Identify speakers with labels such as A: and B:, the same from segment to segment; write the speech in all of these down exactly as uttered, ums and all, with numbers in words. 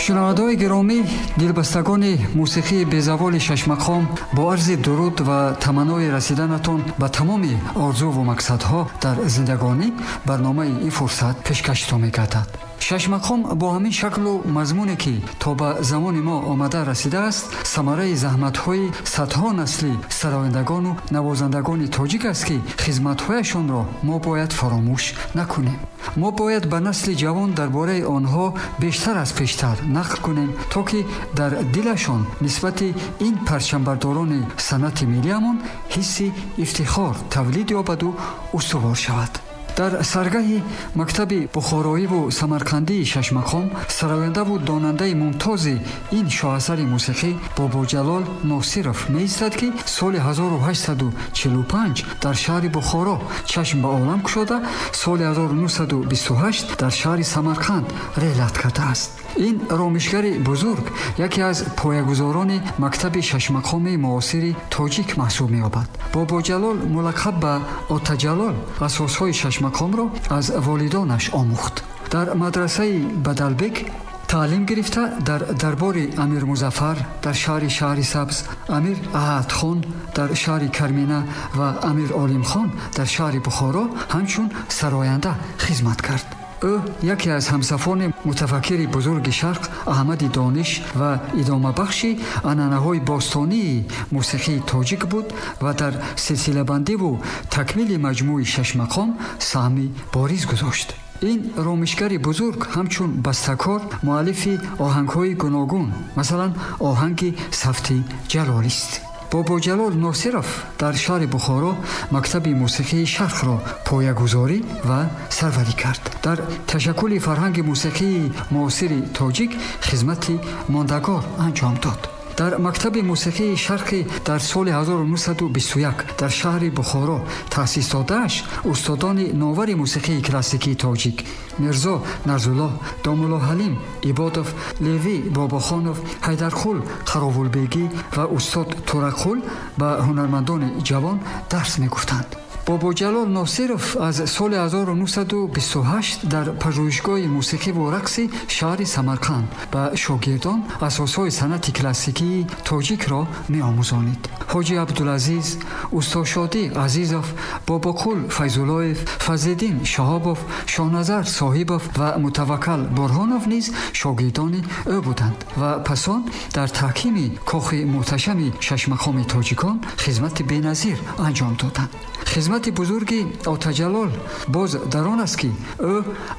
A: Шунавандаҳои гиромӣ, дилбастагони мусиқии безаволи шашмақом, бо арзи дуруд ва таманнои расиданатон ба тамоми орзуву мақсадҳо дар зиндагонӣ барномаи ин фурсат пешкаштон мегардад. Шашмақом бо ҳамин шаклу мазмуне, ки то ба замони мо омада расидааст, самараи заҳматҳои садҳо насли сарояндагону навозандагони тоҷик аст, ки хизматҳояшонро мо бояд фаромӯш накунем. Мо бояд ба насли ҷавон дар бораи онҳо бештар аз пештар нақл кунем, то ки дар дилашон нисбати ин парчамбардорони санъати миллиамон ҳисси ифтихор тавлид ёбаду устувор шавад. Дар саргаҳи мактаби бухороиву самарқандии шашмақом сарояндаву донандаи мумтози ин шоҳасари мусиқӣ Бобоҷалол Носиров меистад, ки соли ҳазору ҳаштсаду чилу панҷ дар шаҳри Бухоро чашм ба олам кушода, соли ҳазору нуҳсаду бисту ҳашт дар шаҳри Самарқанд реҳлат кардааст. Ин ромишгари бузург яке аз поягузорони мактаби шашмақоми муосири тоҷик маҳсуб меёбад. Бобоҷалол мулаққаб ба Отаҷалол асосҳои шашмақомро аз волидонаш омӯхт. Дар мадрасаи Бадалбек таълим гирифта, дар дарбори Амир Музаффар дар шаҳри Шаҳрисабз, Амир Аҳадхон дар шаҳри Кармина ва Амир Олимхон дар шаҳри Бухоро ҳамчун сароянда хизмат кард. Ӯ яке аз ҳамсафони мутафаккири бузурги Шарқ Аҳмади Дониш ва идомабахши анъанаҳои бостонии мусиқии тоҷик буд ва дар силсилабандиву такмили маҷмӯи шашмақом саҳми бориз гузошт. Ин ромишгари бузург ҳамчун бастакор муаллифи оҳангҳои гуногун, масалан оҳанги Сафти Ҷалолист. Бобоҷалол Носиров дар шаҳри Бухоро мактаби мусиқии Шарқро поягузорӣ ва сарварӣ кард. Дар ташаккули фарҳанги мусиқии муосири тоҷик хизмати мондагор анҷом дод. Дар мактаби мусиқии Шарқӣ дар соли ҳазору нуҳсаду бисту як дар шаҳри Бухоро таъсис додааш устодони новари мусиқии классикии тоҷик Мирзо Нарзуллоҳ, Домулло Ҳалим Ибодов, Леви Бобохонов, Ҳайдарқул Қаровулбегӣ ва устод Тураққул ба ҳунармандони ҷавон дарс мегуфтанд. Бобоҷалол Носиров аз соли ҳазору нуҳсаду бисту ҳашт дар пажӯҳишгоҳи мусиқиву рақси шаҳри Самарқанд ба шогирдон асосҳои санъати классикии тоҷикро меомӯзонид. Ҳоҷи Абдулазиз, Устодшодӣ Азизов, Бобоқул Файзуллоев, Фазлиддин Шаҳобов, Шоҳназар Соҳибов ва Мутаваккал Бурҳонов низ шогирдони ӯ буданд ва пасон дар таҳкими кохи муҳташами шашмақоми тоҷикон хизмати беназир анҷом доданд. Хизмати бузурги Отаҷалол боз дар он аст, ки ӯ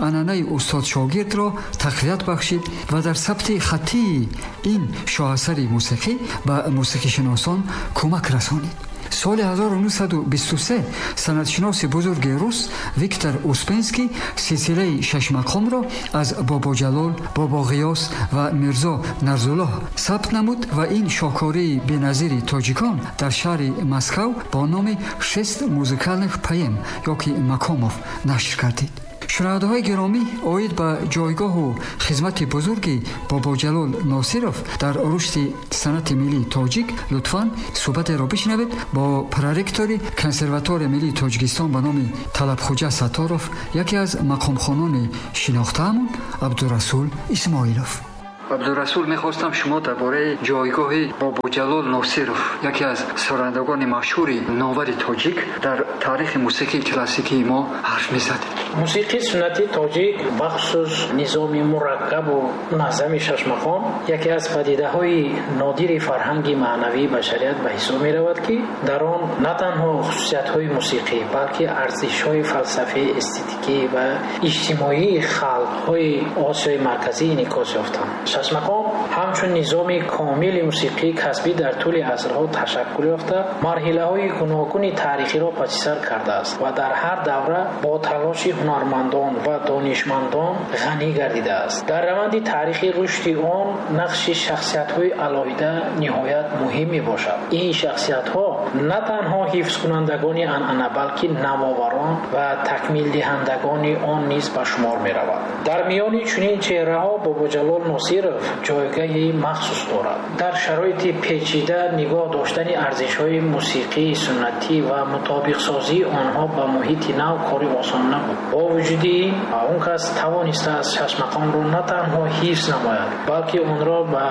A: анъанаи устодшогирдро тақвият бахшид ва дар сабти хаттии ин шоҳасари мусиқӣ ба мусиқишиносон кӯмак расонид. Соли ҳазору нуҳсаду бисту се санъатшиноси бузурги рус Виктор Успенский силсилаи шашмақомро аз Бобоҷалол, Бобоғиёс ва Мирзо Нарзуллоҳ сабт намуд ва ин шоҳкории беназири тоҷикон дар шаҳри Москав бо номи шест музыкальных поэм ёки макомов нашр гардид. Шунавандаҳои гиромӣ, оид ба ҷойгоҳу хизмати бузурги Бобоҷалол Носиров дар рушди санъати миллии тоҷик лутфан суҳбатеро бишнавед бо проректори Консерваторияи миллии Тоҷикистон ба номи Талабхуҷа Сатторов, яке аз мақомхонони шинохтаамон Абдурасул Исмоилов. Абдурасул, мехостам шумо дар бораи ҷойгоҳи Бобоҷалол Носиров, яке аз сарояндагони машҳури новари тоҷик дар таърихи мусиқии классикии мо ҳарф мезадед.
B: Мусиқии суннатии тоҷик, бахусус низоми мураккабу муназзами шашмақом, яке аз падидаҳои нодири фарҳанги маънавии башарият ба ҳисоб меравад, ки дар он на танҳо хусусиятҳои мусиқӣ, балки арзишҳои фалсафӣ, эстетикӣ ва иҷтимоии халқҳои Осиёи Марказӣ инъикос ёфтанд. Шашмақом ҳамчун низоми комили мусиқии касбӣ дар тӯли асрҳо ташаккул ёфта, марҳилаҳои гуногуни таърихиро пасисар кардааст ва дар ҳар давра бо талоши ҳунармандон ва донишмандон ғанӣ гардидааст. Дар раванди таърихи рушди он нақши шахсиятҳои алоҳида ниҳоят муҳим мебошад. Ин шахсиятҳо на танҳо ҳифзкунандагони анъана, балки навоварон ва такмилдиҳандагони он низ ба шумор меравад. Дар миёни чунин чеҳраҳо Бобоҷалол Носиров Носиров ҷойгоҳи махсус дорад. Дар шароити печида нигоҳ доштани арзишҳои мусиқии суннатӣ ва мутобиқсозии онҳо ба муҳити нав кори осон набуд. Бо вуҷуди ин, он кас тавонистааст шашмақомро на танҳо ҳифз намояд, балки онро ба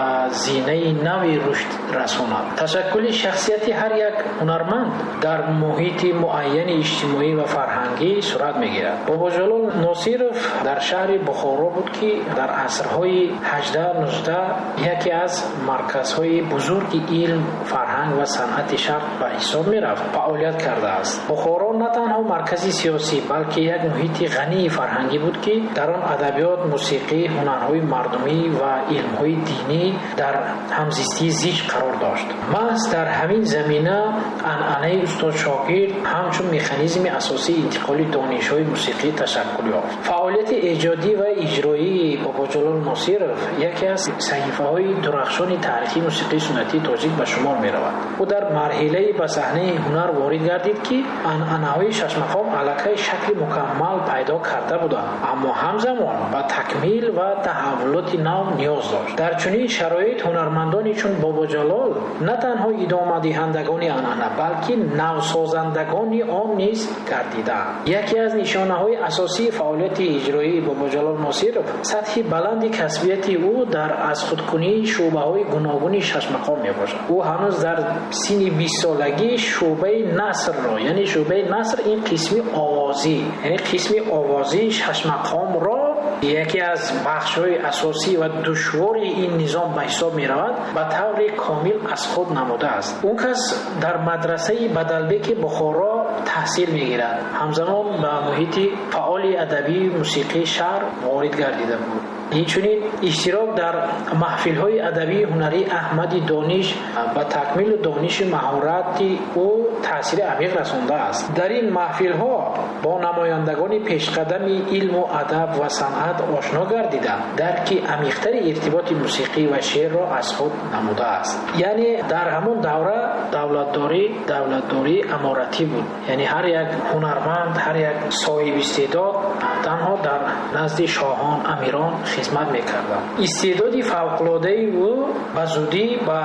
B: зинаи нави рушд расонад. Ташаккули шахсияти ҳар як ҳунарманд дар муҳити муайяни иҷтимоӣ ва фарҳангӣ сурат мегирад. Бобоҷалол Носиров дар шаҳри Бухоро буд, ки дар асрҳои ҳаждаҳ нуздаҳ яке аз марказҳои бузурги илм, фарҳанг ва санъати шарқ ба ҳисоб мерафт, фаъолият кардааст. Бухоро на танҳо маркази сиёсӣ, балки як муҳити ғании фарҳангӣ буд, ки дар он адабиёт, мусиқӣ, ҳунарҳои мардумӣ ва илмҳои динӣ дар ҳамзистии зич қарор дошт. Маҳз дар ҳамин замина анъанаи устод-шогирд ҳамчун механизми асосии интиқоли донишҳои мусиқӣ ташаккул ёфт. Фаъолияти эҷодӣ ва иҷроии Бобоҷалол Носиров яке аз саҳифаҳои дурахшони таърихи мусиқии суннатии тоҷик ба шумор меравад. Ӯ дар марҳилаи ба саҳнаи ҳунар ворид гардид, ки анъанаҳои шашмақом аллакай шакли мукаммал пайдо карда буданд, аммо ҳамзамон ба такмил ва таҳаввулоти нав ниёз дошт. Дар чунин шароит ҳунармандони чун Бобоҷалол на танҳо идомадиҳандагони анъана, балки навсозандагони он низ гардидаанд. Яке аз нишонаҳои асосии фаъолияти иҷроии Бобоҷалол Носиров сатҳи баланди касбияти ӯ дар аз худкунии шӯъбаҳои гуногуни шашмақом мебошад. Ӯ ҳанӯз дар синни бистсолагӣ шӯъбаи насрро, яъне шӯъбаи наср ин қисми овозӣ, яъне қисми овозии шашмақомро яке аз бахшҳои асосӣ ва душвори ин низом ба ҳисоб меравад, ба таври комил аз худ намудааст. Он кас дар мадрасаи Бадалбеки Бухоро таҳсил мегирад. Ҳамзамон ба муҳити фаъоли адабии мусиқии шаҳр ворид гардида буд. Инчунин иштирок дар маҳфилҳои адабии ҳунарии Аҳмади Дониш ба такмилу дониши маҳорати ӯ таъсири амиқ расондааст. Дар ин маҳфилҳо бо намояндагони пешқадами илму адаб ва санъат ошно гардида, дарки амиқтари иртиботи мусиқӣ ва шеърро аз худ намудааст. Яъне дар ҳамон давра давлатдорӣ давлатдории аморатӣ буд. Яъне ҳар як ҳунарманд, ҳар як соҳиби истеъдод танҳо дар назди шоҳон, амирон хизмат мекарданд. Истеъдоди фавқулодаи ӯ ба зудӣ ба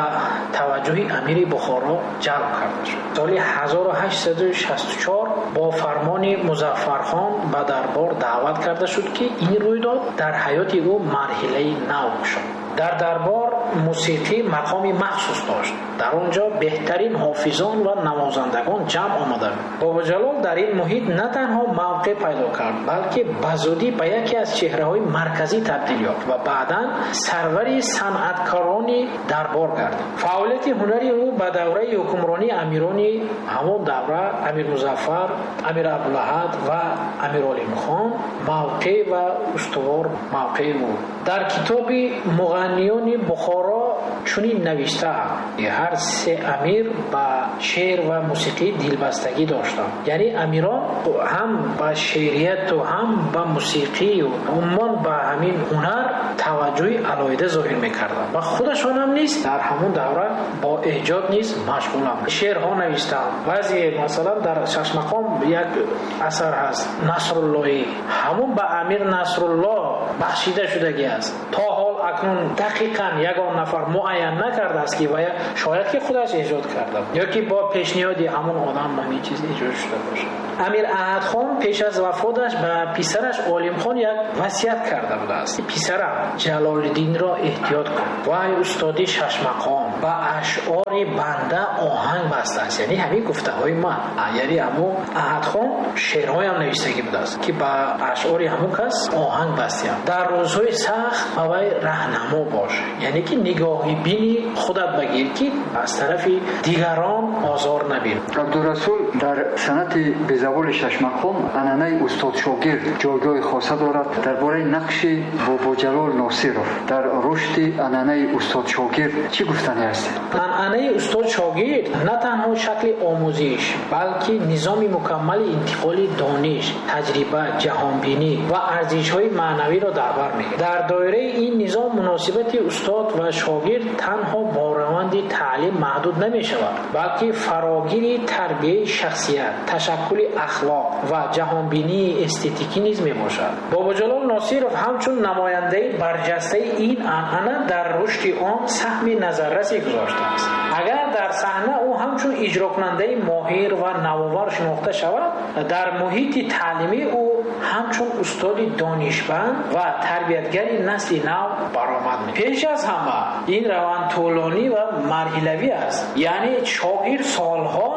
B: таваҷҷӯҳи амири Бухоро ҷалб карда шуд. Соли ҳазору ҳаштсаду шасту чор бо фармони Музаффархон ба дарбор даъват карда шуд, ки ин рӯйдод дар ҳаёти ӯ марҳилаи нав шуд. Дар дарбор мусиқӣ мақоми махсус дошт. Дар он ҷо беҳтарин ҳофизон ва навозандагон ҷамъ омаданд. Бобоҷалол дар ин муҳит на танҳо мавқеъ пайдо кард, балки ба зудӣ ба яке аз чеҳраҳои марказӣ табдил ёфт ва баъдан сарвари санъаткорони дарбор гардид. Фаъолияти ҳунари ӯ ба давраи ҳукмронии амирони ҳамон давра, Амир Музаффар, Амир Абдулаҳад ва Амир Олимхон мавқеъ ва устувор мавқеъ буд. Дар китоби Муғанниёни Бухоро чунин навиштаанд: ҳар се амир ба шеър ва мусиқӣ дилбастагӣ доштанд. Яъне амирон ҳам ба шеърияту ҳам ба мусиқию умуман ба ҳамин ҳунар таваҷҷӯҳи алоҳида зоҳир мекарданд ва худашон ҳам низ дар ҳамон давра бо эҷод низ машғуланд. Шеърҳо навиштанд. Баъзе масалан дар шашмақом як асар ҳаст, Насруллоҳӣ, ҳамон ба амир Насруллоҳ бахшида шудагӣ аст. То ҳол акнун дақиқан ягон нафар муайян накардааст, ки вая шояд ки худаш эҷод карда ё ки бо пешниҳоди ҳамон одам ҳамин чиз эҷод шуда бошад. Амир Аҳадхон пеш аз вафоташ ба писараш Олимхон як васият карда будааст: писарам, Ҷалолиддинро эҳтиёт кун, вай устоди шашмақом ба ашъори банда оҳанг бастааст. Яъне ҳамин гуфтаҳои ман. Яъне ҳамун Аҳадхон шеърҳоям навиштагӣ будааст, ки ба ашъори ҳамун кас оҳанг бастиям. Дар рӯзҳои сахт ба вай раҳнамо бош, яъне ки нигоҳи бини худат багир, ки аз тарафи дигарон озор набин.
A: Абдурасул, дар санъати безаволи шашмақом анъанаи устод-шогирд ҷойгоҳи хоса дорад. Дар бораи нақши Бобоҷалол Носиров дар рушди анъанаи устод-шогирд чӣ гуфтанӣ ҳастед?
B: Анъанаи устод-шогирд на танҳо шакли омӯзиш, балки низоми мукаммали интиқоли дониш, таҷриба, ҷаҳонбинӣ ва арзишҳои маънавиро дар бар мегирад. Дар доираи ин низом муносибати устод ва шогирд танҳо бо раванди таълим маҳдуд намешавад, балки фарогири тарбияи шахсият, ташаккули ахлоқ ва ҷаҳонбинии эстетикӣ низ мебошад. Бобоҷалол Носиров ҳамчун намояндаи барҷастаи ин анъана дар рушди он саҳми назаррасе гузоштааст. Агар дар саҳна ӯ ҳамчун иҷрокунандаи моҳир ва навовар шинохта шавад, дар муҳити таълимӣ ӯ ҳамчун устоди донишманд ва тарбиятгари насли нав баромад мекунад. Пеш аз ҳама ин раванд тӯлонӣ ва марҳилавӣ аст, яъне шогирд солҳо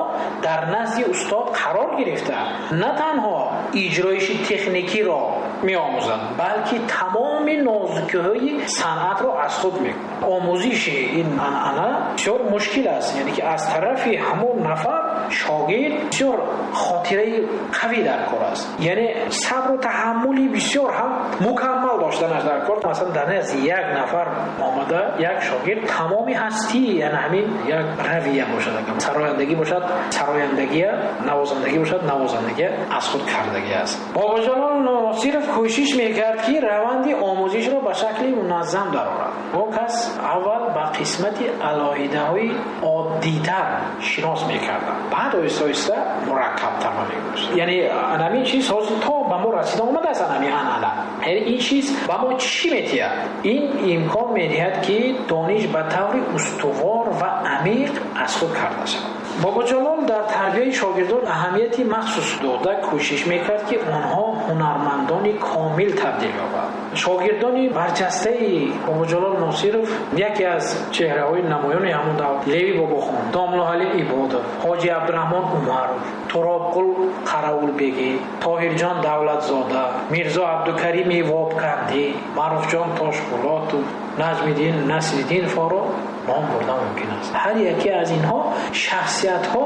B: дар назди устод қарор гирифта на танҳо иҷроиши техникиро меомӯзад, балки тамоми нозукиҳои санъатро аз худ мекунад. Омӯзиши ин анъана бисёр мушкил аст, яъне ки аз тарафи ҳамон нафар шогирд бисёр хотираи қавӣ дар кор аст, яъне сабру таҳаммули бисёр ҳам мукаммал доштанаш дар кор. Масалан, дар назди як нафар омада як шогирд тамоми ҳастӣ, яъне ҳамин як равия бошад, сарояндагӣ бошад сарояндагия, навозандагӣ бошад навозандагия аз худ кардагӣ аст. Бобоҷалол Носиров кӯшиш мекард, ки раванди омӯзишро ба шакли муназзам дарорад. Он кас аввал ба қисмати алоҳидаҳои оддитар шинос мекарданд, баъд оҳиста оҳиста мураккабтар мегузошт. Яъне ҳамин чиз ҳозир то ба мо расида омадааст, ҳамин анъана. Яъне ин чиз ба мо чӣ медиҳад? Ин имкон медиҳад, ки дониш ба таври устувор ва амиқ аз худ карда шавад. Бобоҷалол дар тарбияи шогирдон аҳамияти махсус дода кӯшиш мекард, ки онҳо ҳунармандони комил табдил ёбанд. Шогирдони барҷастаи Бобоҷалол Носиров яке аз чеҳраҳои намоёни ҳамон давр Леви Бобохон, Домлоҳали Ибодов, Ҳоҷи Абдураҳмон Умаров, Туробқул Қараулбегӣ, Тоҳирҷон Давлатзода, Мирзо Абдукарими Вобкандӣ, Маъруфҷон Тошбулотов, Наҷмиддин Насриддиновро ном бурда мумкин аст. Ҳар яке аз инҳо шахсиятҳо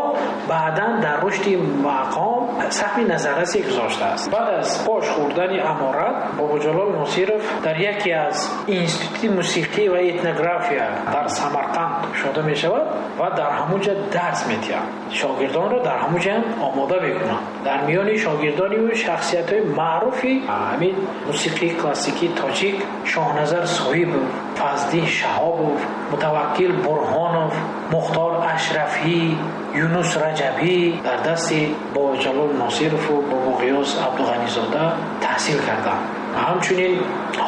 B: баъдан дар рушди мақом саҳми назаррасе гузоштааст. Баъд аз пош хӯрдани аморат Бобоҷалол Носиров дар яке аз институти мусиқӣ ва этнография дар Самарқанд шуда мешавад ва дар ҳамон ҷо дарс медиҳад. Шогирдонро дар ҳамон ҷо омода мекунад. Дар миёни шогирдони ӯ шахсиятҳои маъруфи ҳамин мусиқии классикии тоҷик Шоҳназар Соҳибов, Фазлиддин Шаҳобов, Мутаваккил Бурҳонов, Мухтор Ашрафӣ, Юнус Раҷабӣ дар дасти Бобоҷалол Носиров ва Бобоғиёс Абдуғанизода таҳсил карданд. Ҳамчунин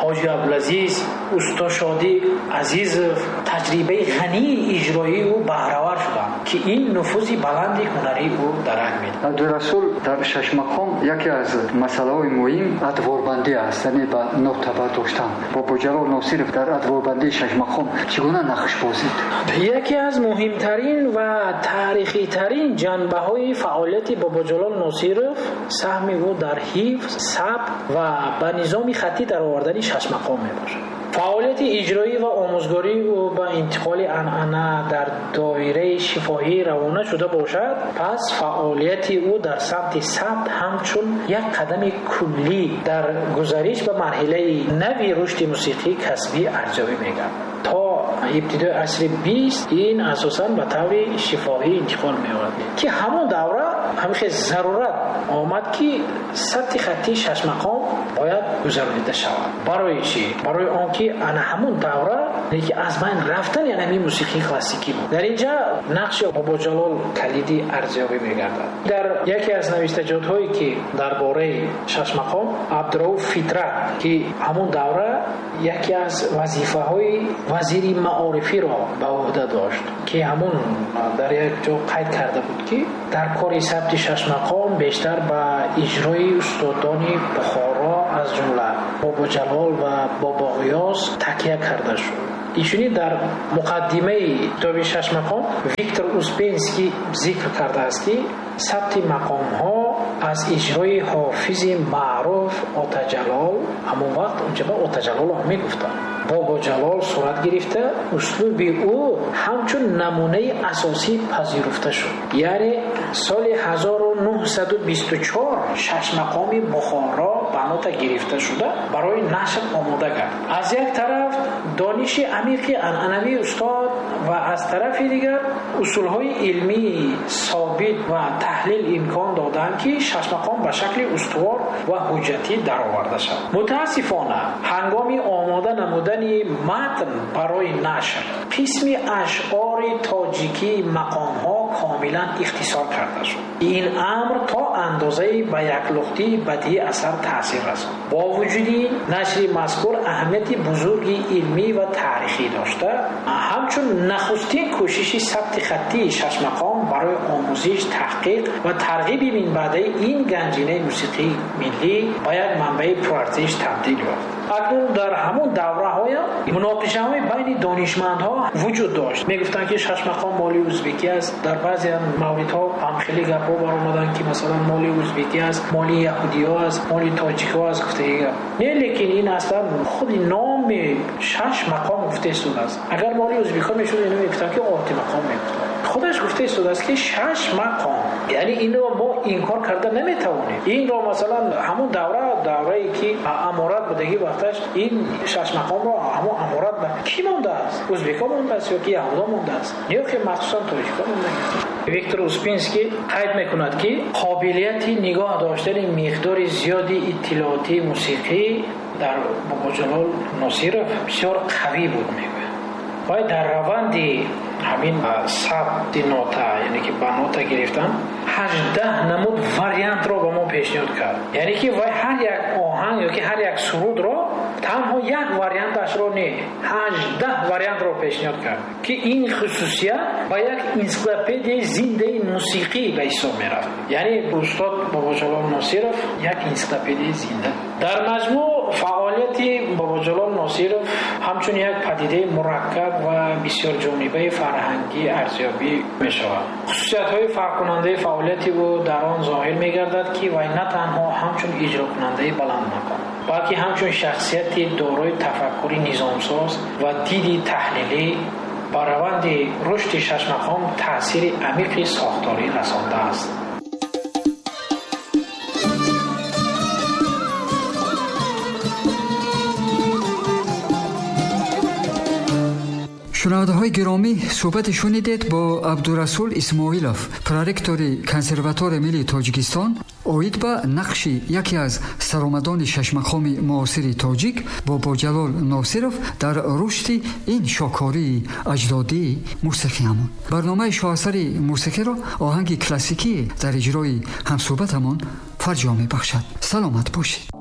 B: Ҳоҷи Абдулазиз, Устошодӣ Азизов таҷрибаи ғании иҷроии ӯ баҳравар шуданд, ки ин нуфузи баланди ҳунарии ӯ дарак медиҳад.
A: Абдурасул, дар шашмақом яке аз масъалаҳои муҳим адворбандӣ аст, яъне ба нота бардоштан. Бобоҷалол Носиров дар адворбандии шашмақом чӣ гуна нақш бозид?
B: Яке аз муҳимтарин ва таърихитарин ҷанбаҳои фаъолияти Бобоҷалол Носиров саҳми ӯ дар ҳифз, сабт ва ба низоми хаттӣ даровардани шашмақом мебошад. Фаъолияти иҷроӣ ва омӯзгории ӯ ба интиқоли анъана дар доираи шифоҳӣ равона шуда бошад, пас фаъолияти ӯ дар самти сабт ҳамчун як қадами куллӣ дар гузариш ба марҳилаи нави рушди мусиқии касбӣ арзёбӣ мегардад. То ибтидои асри бист ин асосан ба таври шифоҳӣ интиқол меёбад, ки ҳамон давра ҳамин зарурат омад, ки сабти хаттии шашмақом бояд гузаронида шавад. Барои чӣ? Барои он ки ана ҳамон давра ки аз байн рафтани ҳамин мусиқии классикӣ буд. Дар инҷа нақши Бобоҷалол калиди арзёбӣ мегардад. Дар яке аз навиштаҷотҳое, ки дар бораи шашмақом Абдурауф Фитрат, ки ҳамон давра яке аз вазифаҳои вазири маорифиро ба уҳда дошт, ки ҳамон дар як ҷо қайд карда буд, ки дар кори сабти шашмақом бештар ба иҷрои устодони Бухоро аз ҷумла Бобоҷалол ва Бобоғиёс такя карда шуд. Инчунин дар муқаддимаи китоби шашмақом Виктор Успенский зикр кардааст, ки сабти мақомҳо аз иҷрои ҳофизи маъруф Отаҷалол, ҳамон вақт онҷа ба Отаҷалол мегуфтанд, Бобоҷалол сурат гирифта, услуби ӯ ҳамчун намунаи асосӣ пазируфта шуд. Яъне соли ҳазору нуҳсаду бисту чор шашмақоми Бухоро ба нота гирифта шуда барои нашр омода кард. Аз як тараф дониши амиқи анъанавии устод ва аз тарафи дигар усулҳои илмии собит ва таҳлил имкон доданд, ки шашмақом ба шакли устувор ва ҳуҷҷатӣ дароварда шавад. Мутаассифона, ҳангоми омода намудани матн барои нашр қисми ашъори тоҷикии мақомҳо комилан ихтисор карда шуд. Ин амр то андозае ба яклухтии бадеии асар таъсир расонд. Бо вуҷуди ин, нашри мазкур аҳамияти бузурги илмӣ ва таърихӣ дошта, ҳамчун нахустин кӯшиши сабти хаттии шашмақом барои омӯзиш, таҳқиқ ва тарғиби минбаъдаи ин ганҷинаи мусиқии миллӣ ба як манбаи пурарзиш табдил ёфт. Акнун дар ҳамон давраҳоям муноқишаҳои байни донишмандҳо вуҷуд дошт. Мегуфтанд, ки шашмақом моли ӯзбекӣ аст. Дар баъзе мавридҳо ҳам хеле гапҳо баромаданд, ки масалан моли ӯзбекӣ аст, моли яҳудиҳо аст, моли тоҷикҳо аст, гуфтаги гап. Не, лекин ин аслан худи номи шаш мақом гуфта истодааст. Агар моли ӯзбекҳо мешуд, ино мегуфтанд, ки олти мақом мегуфтанд. Худаш гуфта истодааст, ки шаш мақом. Яъне инро мо инкор карда наметавонем. Инро масалан ҳамон давра, даврае ки аморат будагӣ вақташ, ин шаш мақомро ҳамон аморат ба кӣ мондааст? Ӯзбекҳо мондааст ё ки яҳудо мондааст? Ё ки махсусан тоҷикҳо мондааст? Виктор Успенский қайд мекунад, ки қобилияти нигоҳ доштани миқдори зиёди иттилоотии мусиқӣ дар Бобоҷалол Носиров бисёр қавӣ буд, мегӯяд. Вай дар раванди ҳамин сабти нота, яъне ки ба нота гирифтан, ҳаждаҳ намуд вариантро ба мо пешниҳод кард. Яъне ки вай ҳар як оҳанг ё ки ҳар як сурудро танҳо як варианташро не, ҳаждаҳ вариантро пешниҳод кард, ки ин хусусият ба як энсиклопедияи зиндаи мусиқӣ ба ҳисоб мерафт. Яъне устод Бобоҷалол Носиров як энсиклопедияи зинда. Дар маҷмӯъ фаъолияти Бобоҷалол Носиров ҳамчун як падидаи мураккаб ва бисёрҷонибаи фарҳангӣ арзёбӣ мешавад. Хусусиятҳои фарқкунандаи фаъолияти ӯ дар он зоҳир мегардад, ки вай на танҳо ҳамчун иҷрокунандаи баландмақом, балки ҳамчун шахсияти дорои тафаккури низомсоз ва диди таҳлилӣ ба раванди рушди шашмақом таъсири амиқи сохторӣ расондааст.
A: Шунавандаҳои гиромӣ, суҳбате шунидед бо Абдурасул Исмоилов, проректори Консерваторияи миллии Тоҷикистон, оид ба нақши яке аз саромадони шашмақоми муосири тоҷик Бобоҷалол Носиров дар рушди ин шоҳкории аҷдодии мусиқиамон. Барномаи шоҳасари мусиқиро оҳанги классикӣ дар иҷрои ҳамсӯҳбатамон фарҷом мебахшад. Саломат бошед.